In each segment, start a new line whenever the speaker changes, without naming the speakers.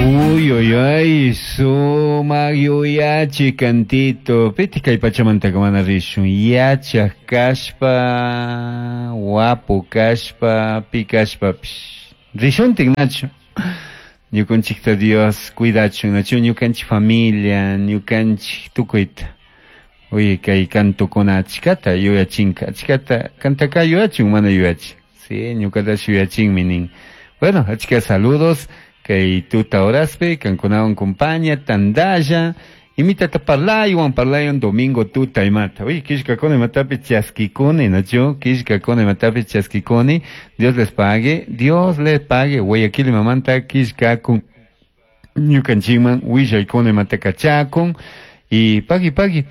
Uy, uy, uy, sumak yuyachi cantito. Pitik kay pachamantaka mana rishun. Yachak kashpa, wapu kashpa, pi kashpapish. Rishuntik nachu. Ñukanchikta Dios cuidachun, nachu ñukanchik familia, ñukanchik tukuyta. Uy, kay cantukuna achkata yuyachinka, achkata kantaka yuyachun mana yuyachin. Sí, ñukatash yuyachinmi nin. Bueno, achka saludos kay tuta horaspi, kankunawan compañía, tandalla, imitata parlaywan, parlaywan domingo tuta imata. Uy, kishkakuna imatapi chaskikuni, nachu, kishkakuna imatapi chaskikuni. Dios les pague, Dios les pague. Guayaquil imamanta kishkakun ñukanchikman willaykuna imata kachakun. Y pagui, pagui.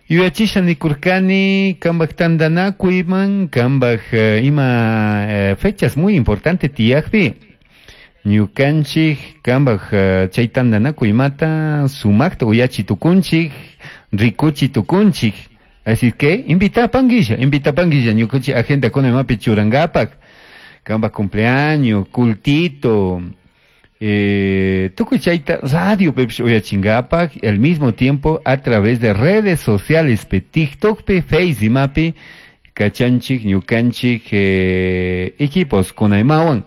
Yuyachisha nikurkani kambaj tandanakuyman, kambaj ima fechas muy importante tiyakpi. Ñukanchik kambaj chay tandanakuymata sumakta uyachi tukunchik, rikuchi tukunchik. Así que invitapanguilla, invitapanguilla ñukanchik agenda kuna imapi churangapak. Kambaj cumpleaños, cultito, tukuy chayta radio pipish uyachingapak, al mismo tiempo a través de redes sociales pe TikTok pe Face imapi kachanchik ñukanchik equipos kunaymawan.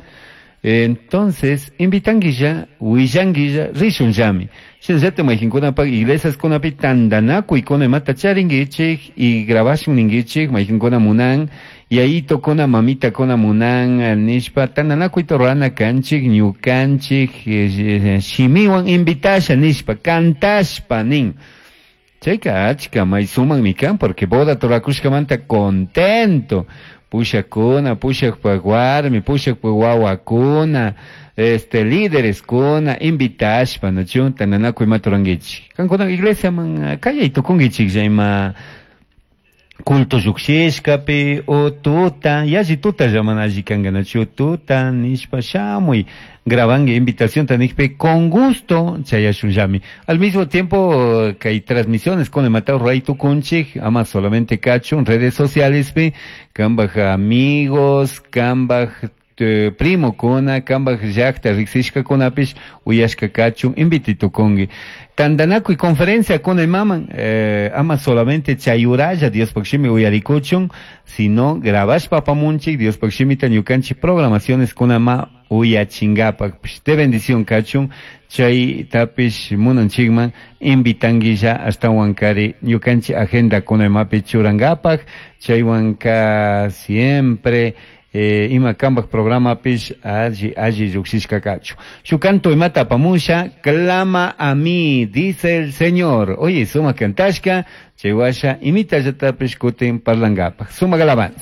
Entonces, invitanguilla, willanguilla, rishunllami. Shinallata mayqinkunapak iglesias kunapi tandanakuy kuna imata charinguichik y grabashun ninguichik mayqinkuna munan yayito kuna mamita kuna munan nishpa tandanakuyta rurana kanchik ñukanchik shimiwan invitasha nishpa cantashpa nin. Chayka achka may sumakmi kan porque boda turakushkamanta contento. Pushakuna, pushakpak warmi, pushakpak wawakuna, líderes kuna, invitashpa, nachu, tandanakuy imata rurankichik. Kankuna iglesiaman kallay tukunkichik ima culto llukshishkapi o tuta, yalli tuta llaman alli kanka, nachu, tuta nishpa shamuy, grabanki invitación tanikpi con gusto chayashunllami. Al mismo tiempo kay transmisiones con imata ruray tukunchik, ama solamente kachun redes sociales pi, kambaj amigos, kambaj primo kuna, kambaj llakta riksishkakunapish uyashka kachun inviti tukunki. Tandanakuy conferencia kuna imaman, ama solamente chayuralla Diospaj shimi uyarikuchun, sino grabashpa apamunchik Diospaj shimita ñukanchik programaciones kuna ma uyachingapak. De bendición kachun, chay tapish munanchikman invitanguilla ashtawankari ñukanchik agenda kuna imapi churangapak, chaywanka siempre ima kambaj programapish alli, alli llukshishka kachu. Shuk canto imata apamusha, clama a mí, dice el Señor. Oye, suma cantashka, chaywasha, imitallatapish kutin parlangapak. Suma alabanza.